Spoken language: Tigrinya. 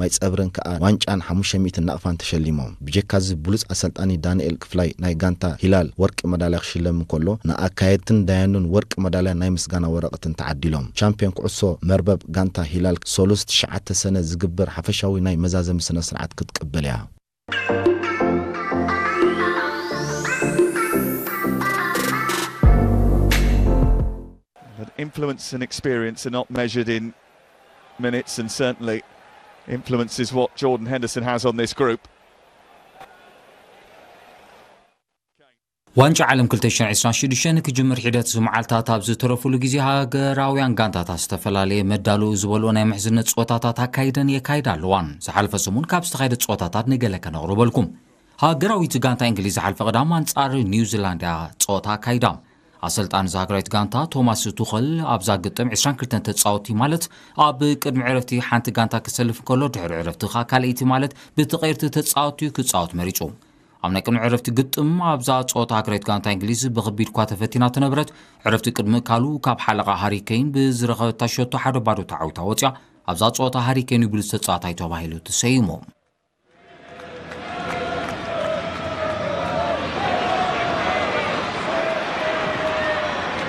ማይ ጸብርን ከኣ ዋንጫን ሓሙሽተ ሚእቲ ናቕፋን ተሸሊሞም። ብጀካዚ ብሉጽ ኣሰልጣኒ ዳንኤል ክፍላይ ናይ ጋንታ ሂላል ወርቂ መዳልያ ክሽለም እንከሎ፣ ንኣካየድትን ዳያኑን ወርቂ መዳልያ ናይ ምስጋና ወረቐትን ተዓዲሎም። ቻምፒዮን ኩዕሶ መርበብ ጋንታ ሂላል ሰሉስ ትሽዓተ ሰነ ዝግበር ሓፈሻዊ ናይ መዛዘሚ ስነ ስርዓት ክትቅበል እያ። But influence and experience are not measured in minutes, and certainly influence is what Jordan Henderson has on this group. ዋንጫ ዓለም ክልተ ሽሕን ዕስራን ሽዱሽተን ክጅምር ሒደት መዓልታት ኣብ ዝተረፉሉ ግዜ፣ ሃገራውያን ጋንታታት ዝተፈላለየ መዳልኡ ዝበልኦ ናይ ምሕዝነት ጸወታታት ኣካይደን የካይዳ ኣለዋን። ዝሓለፈ ሰሙን ካብ ዝተኻየደ ጸወታታት ንገለ ከነቕርበልኩም። ሃገራዊት ጋንታ እንግሊዝ ዝሓለፈ ቀዳም ኣንጻር ኒውዚላንድ እያ ጸወታ ኣካይዳ። ኣሰልጣኒ እዛ ሃገራዊት ጋንታ ቶማስ ቱኸል ኣብዛ ግጥም ዕስራን ክልተን ተጻወትቲ ማለት ኣብ ቅድሚ ዕረፍቲ ሓንቲ ጋንታ ክሰልፍ እንከሎ፣ ድሕሪ ዕረፍቲ ኸኣ ካልኣይቲ ማለት ብተቐየርቲ ተጻወትቲ ክጻወት መሪጹ። ኣብ ናይ ቅድሚ ዕረፍቲ ግጥም ኣብዛ ጸወታ ሃገራዊት ጋንታ እንግሊዝ ብኸቢድ እኳ ተፈቲና ተነበረት፣ ዕረፍቲ ቅድሚ ምእካሉ ካብ ሓለቓ ሃሪ ኬን ብዝረኸበታ ሸቶ ሓደ ባዶ ተዓዊታ ወጽያ። ኣብዛ ጸወታ ሃሪ ኬን እዩ ብሉጽ ተጻዋታይ ተባሂሉ ተሰይሙ።